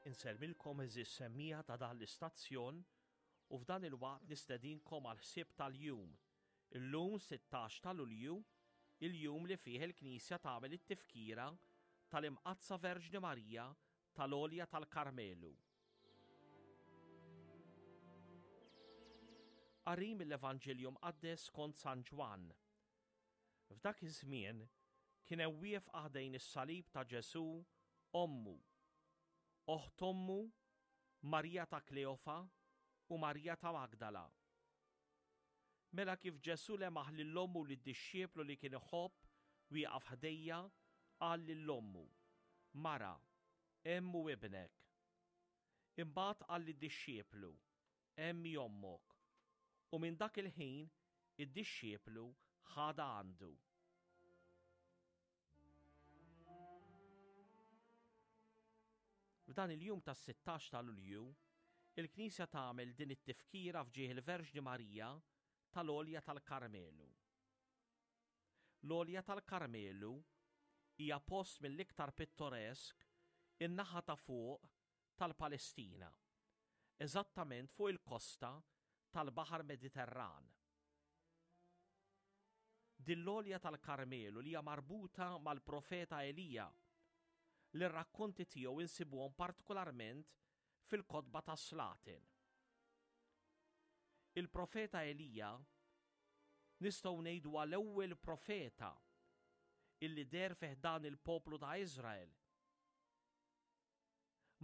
Insellmilkom għeżież semmiegħa ta' dan l-istazzjon u f'dan il-waqt nistedinkom għall-ħsieb tal-jum. Illum 16 ta' Lulju, il-jum li fih il-Knisja tagħmel it-tifkira tal-Imqaddsa Verġni Marija tal-Għolja tal-Karmelu. Qari mill-Evanġelju Mqaddes skont San Ġwann. F'dak iż-żmien kien hemm wieqfa ħdejn is-salib ta' Ġesù ommu, oħt ommu, Marija ta' Kleofa u Marija ta' Magdala. Mela kif Ġesù lemaħ lil ommu u lid-dixxiplu li kien iħobb wieqaf ħdejja, qal lil ommu, Mara, hemm hu ibnek. Imbagħad qal lid-dixxiplu, Hemm hi ommok. U minn dak il-ħin id-dixxiplu ħadha għandu. F'dan il-jum tas-16 ta' Lulju, il-Knisja tagħmel din it-tifkira f'ġieħ il-Verġni Marija tal-Għolja tal-Karmelu. L-Għolja tal-Karmelu hija post mill-iktar pittoresk in-naħa ta' fuq tal-Palestina, eżattament fuq il-kosta tal-Baħar Mediterran. Din l-għolja tal-Karmelu li hija marbuta mal-profeta Elija, li r-rakkonti tiegħu insibuhom partikolarment fil-kotba tas-Slaten. Il-profeta Elija nistgħu ngħidu huwa l-ewwel profeta illi deher fi ħdan il-poplu ta' Iżrael.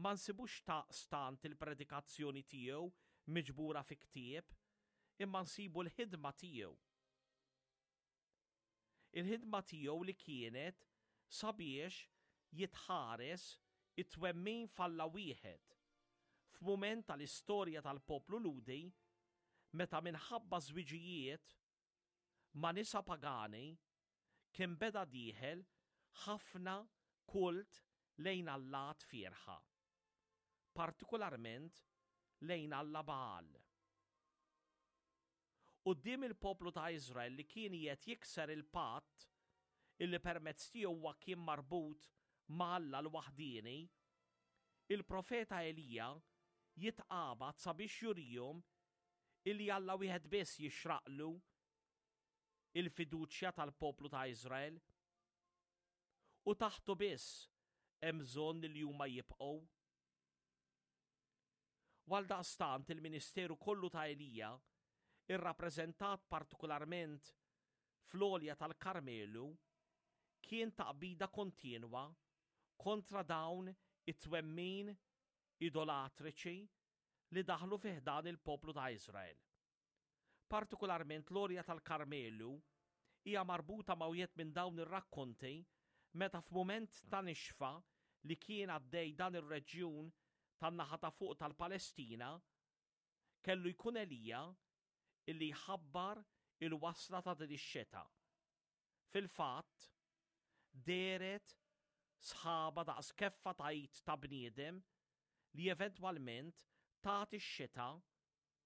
Ma nsibux daqstant il-predikazzjoni tiegħu miġbura fi ktieb, imma nsibu l-ħidma tiegħu. Il-ħidma tiegħu li kienet sabiex jitħares it-twemmin f'Alla wieħed, f'mument tal-istorja tal-poplu Lhudi meta minħabba żwiġijiet ma' nisa pagani kien beda dieħel ħafna kult lejn allat fierħa, partikularment lejn alla Bagħal. Quddiem il-poplu ta' Iżrael li kien qiegħed jikser il-patt illi permezz tiegħu huwa kien marbut ma' Alla l-waħdieni, il-profeta Elija jitqabad sabiex jurihom illi Alla wieħed biss jixraqlu il-fiduċja tal-poplu ta' Iżrael, u taħtu biss hemm bżonn li huma jibqgħu. U għaldaqstant il-ministeru kollu ta' Elija, irrappreżentat partikularment fl-għolja tal-Karmelu, kien taqbida kontinwa kontra dawn it-twemmin idolatriċi li daħlu fi ħdan il-poplu ta' Iżrael. Partikularment l-għolja tal-Karmelu hija marbuta ma' wieħed minn dawn ir-rakkonti meta f'mument ta' nixfa li kien għaddej dan ir-reġjun tan-naħa ta' fuq tal-Palestina, kellu jkun Elija illi jħabbar il-wasla ta' din ix-xita. Fil-fatt, dehret sħaba daqs keffa ta' id ta' bniedem li eventwalment tat ix-xita.